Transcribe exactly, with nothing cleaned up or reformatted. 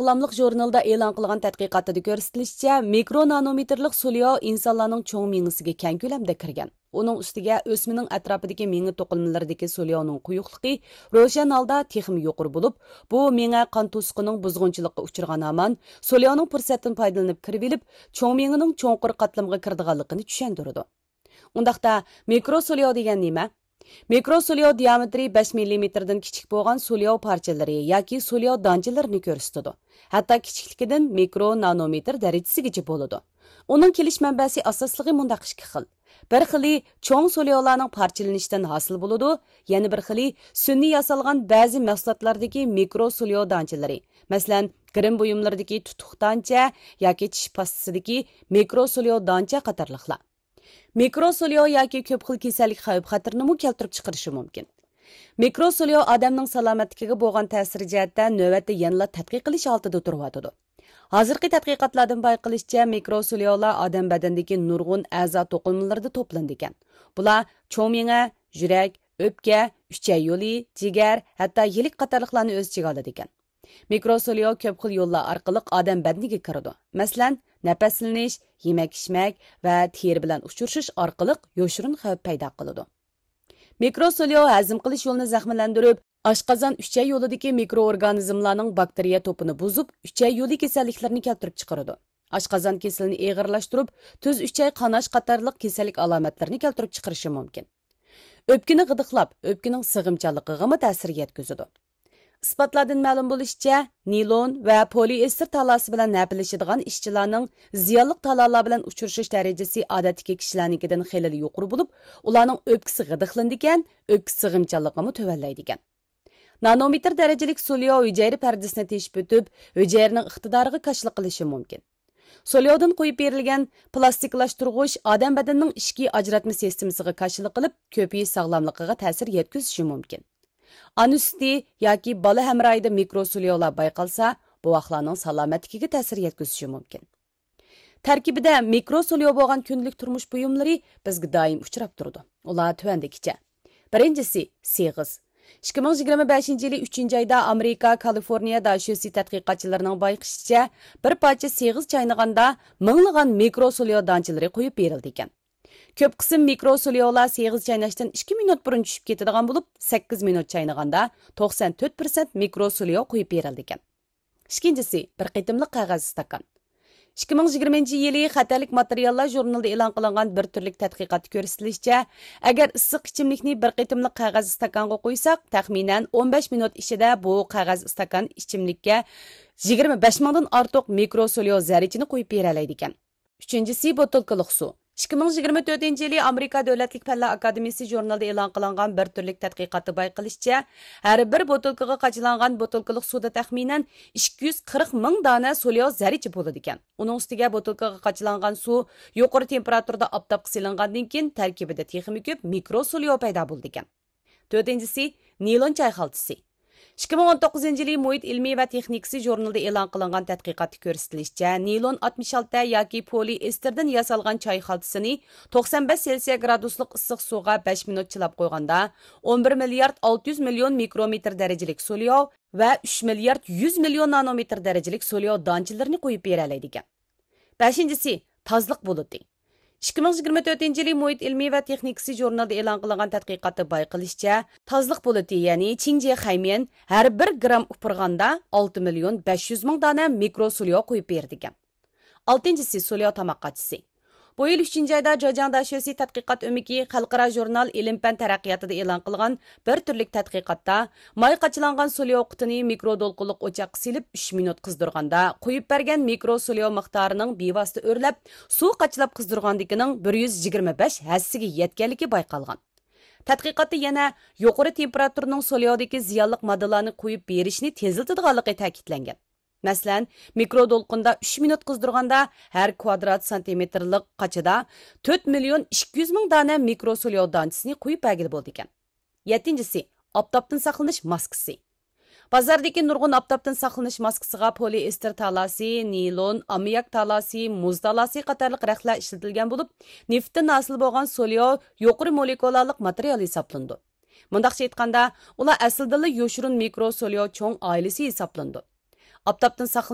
ساغلاملىق ژۇرنىلىدا ئېلان قىلغان تەتقىقاتىدا كۆرسىتىلىشىچە، مىكرو نانومېتىرلىق سولياۋ ئىنسانلارنىڭ چوڭ مېڭىسىگە كەڭ كۆلەمدە كىرگەن. ئۇنىڭ ئۈستىگە ئۆسمىنىڭ ئەتراپىدىكى مېڭە توقۇلمىلىرىدىكى سولياۋنىڭ قويۇقلۇقى روشەن ھالدا تېخىمۇ يۇقىرى بولۇپ، بۇ مېڭە قان توسۇقىنىڭ بۇزغۇنچىلىققا ئۇچرىغان ھامان سولياۋنىڭ پۇرسەتتىن پايدىلىنىپ كىرىۋېلىپ، چوڭ مېڭىنىڭ چوڭقۇر قاتلىمىغا كىرىدىغانلىقىنى چۈشەندۈرىدۇ. ئۇنداقتا، مىكرو سولياۋ دېگەن نېمە؟ مىكرو سولياۋ دىيامېتىرى بەش مىللىمېتىردىن كىچىك بولغان سولياۋ پارچىلىرى ياكى سولياۋ دانچىلىرىنى كۆرسىتىدۇ. ھەتتا كىچىكلىكىدىن مىكرو نانومېتىر دەرىجىسىگىچە بولىدۇ. ئۇنىڭ كېلىش مەنبەسى ئاساسلىقى مۇنداق ئىككى خىل. بىر خىلى چوڭ سولياۋلارنىڭ پارچىلىنىشىدىن ھاسىل بولىدۇ، يەنە بىر خىلى سۈنئىي ياسالغان بەزى مەھسۇلاتلاردىكى مىكرو سولياۋ دانچىلىرى، مەسىلەن، گىرىم بۇيۇملىرىدىكى تۇتۇق دانچە ياكى چىش پاستىسىدىكى مىكرو سولياۋ دانچە قاتارلىقلار. مىكرو سولياۋ ياكى كۆپ خىل كېسەللىك خەۋپ خەتىرىنىمۇ كەلتۈرۈپ چىقىرىشى مۇمكىن. مىكرو سولياۋ ئادەمنىڭ سالامەتلىكىگە بولغان تەسىرى جەھەتتە نۆۋەتتە يەنىلا تەتقىق قىلىش ھالىتىدە تۇرۇۋاتىدۇ. ھازىرقى تەتقىقاتلاردىن بايقىلىشىچە، مىكرو سولياۋلار ئادەم بەدىنىدىكى نۇرغۇن ئەزا توقۇلمىلىرىدا توپلىنىدىكەن. بۇلار چوڭ مېڭە، يۈرەك، ئۆپكە، ئۈچەي يولى، جىگەر، ھەتتا يىلىك قاتارلىقلارنى ئۆز ئىچىگە ئالىدىكەن. مىكرو سولياۋ كۆپ خىل يوللار ئارقىلىق ئادەم بەدىنىگە كىرىدۇ. مەسىلەن، نەپەسلىنىش، يېمەك-ئىچمەك ۋە تېرە بىلەن ئۇچرىشىش ئارقىلىق يوشۇرۇن خەۋپ پەيدا قىلىدۇ. مىكرو سولياۋ ھەزىم قىلىش يولىنى زەخىملەندۈرۈپ، ئاشقازان ئۈچەي يولىدىكى مىكرو ئورگانىزملارنىڭ باكتېرىيە توپىنى بۇزۇپ، ئۈچەي يولى كېسەللىكلىرىنى كەلتۈرۈپ چىقىرىدۇ. ئاشقازان كېسىلىنى ئېغىرلاشتۇرۇپ، تۈز ئۈچەي قاناش قاتارلىق كېسەللىك ئالامەتلىرىنى كەلتۈرۈپ چىقىرىشى مۇمكىن. ئۆپكىنى غىدىقلاپ، ئۆپكىنىڭ سىغىمچانلىقىغىمۇ تەسىر يەتكۈزىدۇ. ئىسپاتلاردىن مەلۇم بولۇشىچە، نىلون ۋە پولىئېستېر تالاسى بىلەن ھەپىلىشىدىغان ئىشچىلارنىڭ زىيانلىق تالالار بىلەن ئۇچرىشىش دەرىجىسى ئادەتتىكى كىشىلەرنىڭكىدىن خېلىلا يۇقىرى بولۇپ، ئۇلارنىڭ ئۆپكىسى غىدىقلىنىدىكەن، ئۆپكە سىغىمچانلىقىمۇ تۆۋەنلەيدىكەن. نانومېتىر دەرىجىلىك سولياۋ ھۈجەيرە پەردىسىنى تېشىپ ئۆتۈپ، ھۈجەيرىنىڭ ئىقتىدارىغا كاشىلا قىلىشى مۇمكىن. سولياۋدىن قويۇپ بېرىلگەن پىلاستىكلاشتۇرغۇچ ئادەم بەدىنىنىڭ ئىچكى ئاجراتما سىستېمىسىغا كاشىلا قىلىپ، كۆپىيىش ساغلاملىقىغا تەسىر يەتكۈزۈشى مۇمكىن. ئانا سۈتى ياكى بالا ھەمراھىدا مىكرو سولياۋلار بايقالسا، بوۋاقلارنىڭ سالامەتلىكىگە تەسىر يەتكۈزۈشى مۇمكىن. تەركىبىدە مىكرو سولياۋ بولغان كۈندىلىك تۇرمۇش بۇيۇملىرى بىزگە دائىم ئۇچراپ تۇرىدۇ. ئۇلار تۆۋەندىكىچە. بىرىنچىسى، سېغىز. ئىككى مىڭ يىگىرمە بەشىنچى يىلى ئۈچىنچى ئايدا ئامېرىكا كالىفورنىيە داشۆسى تەتقىقاتچىلىرىنىڭ بايقىشىچە، بىر پارچە سېغىز چاينىغاندا مىڭلىغان مىكرو سولياۋ دانچىلىرى قويۇپ بېرىلىدىكەن. كۆپ قىسىم مىكرو سولياۋلار سېغىز چايناشتىن ئىككى مىنۇت بۇرۇن چۈشۈپ كېتىدىغان بولۇپ، سەككىز مىنۇت چاينىغاندا توقسان تۆت پىرسەنت مىكرو سولياۋ قويۇپ بېرىلىدىكەن. ئىككىنچىسى، بىر قېتىملىق قەغەز ئىستاكان. ئىككى مىڭ يىگىرمىنچى يىلى خەتەرلىك ماتېرىياللار ژۇرنىلىدا ئېلان قىلىنغان بىر تۈرلۈك تەتقىقاتتا كۆرسىتىلىشىچە، ئەگەر ئىسسىق ئىچىملىكنى بىر قېتىملىق قەغەز ئىستاكانغا قۇيساق، تەخمىنەن ئون بەش مىنۇت ئىچىدە بۇ قەغەز ئىستاكان ئىچىملىككە يىگىرمە بەش مىڭدىن ئارتۇق مىكرو سولياۋ زەررىچىنى قويۇپ بېرەلەيدىكەن. ئۈچىنچىسى، بوتۇلكىلىق سۇ. ئىككى مىڭ يىگىرمە تۆتىنچى يىلى ئامېرىكا دۆلەتلىك پەنلەر ئاكادېمىيىسى ژۇرنىلىدا ئېلان قىلىنغان بىر تۈرلۈك تەتقىقاتتا بايقىلىشىچە، ھەر بىر بوتۇلكىغا قاچىلانغان بوتۇلكىلىق سۇدا تەخمىنەن ئىككى يۈز قىرىق مىڭ دانە سولياۋ زەررىچە بولىدىكەن. ئۇنىڭ ئۈستىگە بوتۇلكىغا قاچىلانغان سۇ يۇقىرى تېمپېراتۇرىدا ئاپتاپقا سېلىنغاندىن كېيىن، تەركىبىدە تېخىمۇ كۆپ مىكرو سولياۋ پەيدا بولىدىكەن. تۆتىنچىسى، نىلون چاي خالتىسى. ئىككى مىڭ ئون توققۇزىنچى يىلى مۇھىت ئىلمى ۋە تېخنىكىسى ژۇرنىلىدا ئېلان قىلىنغان تەتقىقاتتا كۆرسىتىلىشىچە، نىلون ئاتمىش ئالتە ياكى پولىئېستېردىن ياسالغان چاي خالتىسىنى توقسان بەش سېلسىيە گرادۇسلۇق ئىسسىق سۇغا بەش مىنۇت چىلاپ قويغاندا، ئون بىر مىليارد ئالتە يۈز مىليون مىكرومېتىر دەرىجىلىك سولياۋ ۋە ئۈچ مىليارد يۈز مىليون نانومېتىر دەرىجىلىك سولياۋ دانچىلىرىنى قويۇپ بېرەلەيدىكەن. بەشىنچىسى، تازىلىق بۇلۇتى. ئىككى مىڭ يىگىرمە تۆتىنچى يىلى مۇھىت ئىلمى ۋە تېخنىكىسى ژۇرنىلىدا ئېلان قىلىنغان تەتقىقاتتا بايقىلىشىچە، تازىلىق بۇلۇتى، يەنى چىڭجيې خەيميەن ھەر بىر گرام ئۇپرىغاندا ئالتە مىليون بەش يۈز مىڭ دانە مىكرو سولياۋ قويۇپ بېرىدىكەن. ئالتىنچىسى، سولياۋ تاماق قاچىسى. بۇ يىل ئۈچىنچى ئايدا جېجياڭ داشۆسى تەتقىقات ئۆمىكى خەلقئارا ژۇرنال ئىلىم پەن تەرەققىياتىدا ئېلان قىلغان بىر تۈرلۈك تەتقىقاتتا، ماي قاچىلانغان سولياۋ قۇتىنى مىكرو دولقۇنلۇق ئوچاققا سېلىپ ئۈچ مىنۇت قىزدۇرغاندا، قويۇپ بەرگەن مىكرو سولياۋ مىقدارىنىڭ بىۋاسىتە ئۆرلەپ، سۇ قاچىلاپ قىزدۇرغاندىكىنىڭ بىر يۈز يىگىرمە بەش ھەسسىگە يەتكەنلىكى بايقالغان. تەتقىقاتتا يەنە يۇقىرى تېمپېراتۇرىنىڭ سولياۋدىكى زىيانلىق ماددىلارنى قويۇپ بېرىشنى تېزلىتىدىغانلىقى تەكىتلەنگەن. مەسىلەن، مىكرو دولقۇندا ئۈچ مىنۇت قىزدۇرغاندا، ھەر كۋادرات سانتىمېتىرلىق قاچىدا تۆت مىليون ئىككى يۈز مىڭ دانە مىكرو سولياۋ دانچىسىنى قويۇپ بەرگىلى بولىدىكەن. يەتتىنچىسى، ئاپتاپتىن ساقلىنىش ماسكىسى. بازاردىكى نۇرغۇن ئاپتاپتىن ساقلىنىش ماسكىسىغا پولىئېستېر تالاسى، نىلون، ئاممىياك تالاسى، مۇز تالاسى قاتارلىق رەختلەر ئىشلىتىلگەن بولۇپ، نېفىتتىن ھاسىل بولغان سولياۋ يۇقىرى مولېكۇلالىق ماتېرىيال ھېسابلىنىدۇ. مۇنداقچە ئېيتقاندا، ئۇلار ئەسلىدىنلا يوشۇرۇن مىكرو سولياۋ چوڭ ئائىلىسى ھېسابلىنىدۇ. ئاپتاپتىن ساقلىنىش